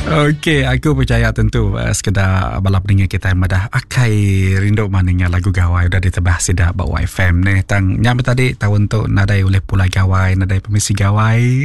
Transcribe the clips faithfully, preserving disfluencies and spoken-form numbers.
Okey, aku percaya tentu uh, sekeda bala peninga kita madah akai rindu maninga lagu gawai udah ditebah sida ba Y F M ni. Tang nyampe tadi tahun tu nadai oleh pulai gawai, nadai permisi gawai.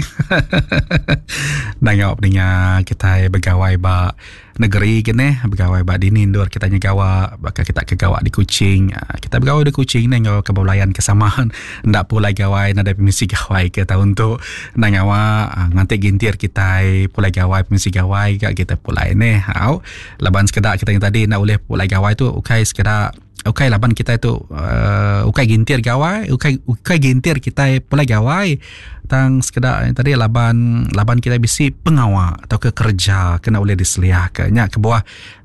Nangok peninga kita begawai ba negeri kene, begawai ba dini endur kita nyegawa, baka kita ke gawa di Kuching. Ah, kita begawai di Kuching ni ngau kebulayan kesamaan ndak pulai gawai, nadai permisi gawai ke tahun tu. Nangawa ah, nganti gintir kita pulai gawai, permisi gawai gak kita pulai ni. Au laban sekedak kita yang tadi nak boleh pulai gawai tu ukai sekedak ukai laban kita itu uh, ukai gintir gawai, ukai ukai gintir kita pulai gawai, tang sekedak yang tadi laban laban kita bisi pengawa atau ke kerja kena boleh diseliah ke nya ke buah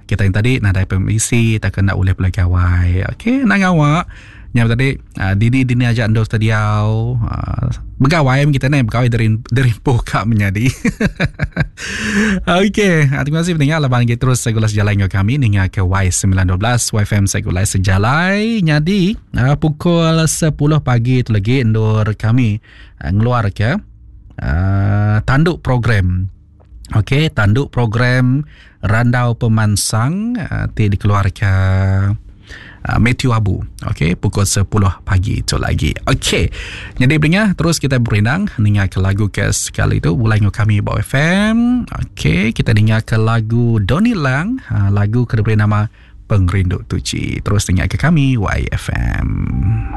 kita yang tadi nadai permisi tak kena boleh pulai gawai. Okey, nak ngawak nya tadi uh, dini dini aja ando tadiau uh, begawai kita ni begawai dari dari buka menjadi. Okey, uh, terima kasih pendengar laban kita terus segula sejalai dengan kami ninga ke Y sembilan dua belas Y F M segula sejalai. Nyadi uh, pukul sepuluh pagi itu lagi endur kami uh, ngeluar ke uh, tanduk program. Okey, tanduk program Randau Pemansang uh, ti dikeluarkan uh, Matthew Abu. Okey, pukul sepuluh pagi itu lagi. Okey. Jadi pendengar, terus kita berindang dengar ke lagu ke sekali itu mulai dengan kami Bawa F M. Okey, kita dengar ke lagu Donny Lang, uh, lagu ke diberi nama Pengerindu Tuci. Terus dengar ke kami Y F M.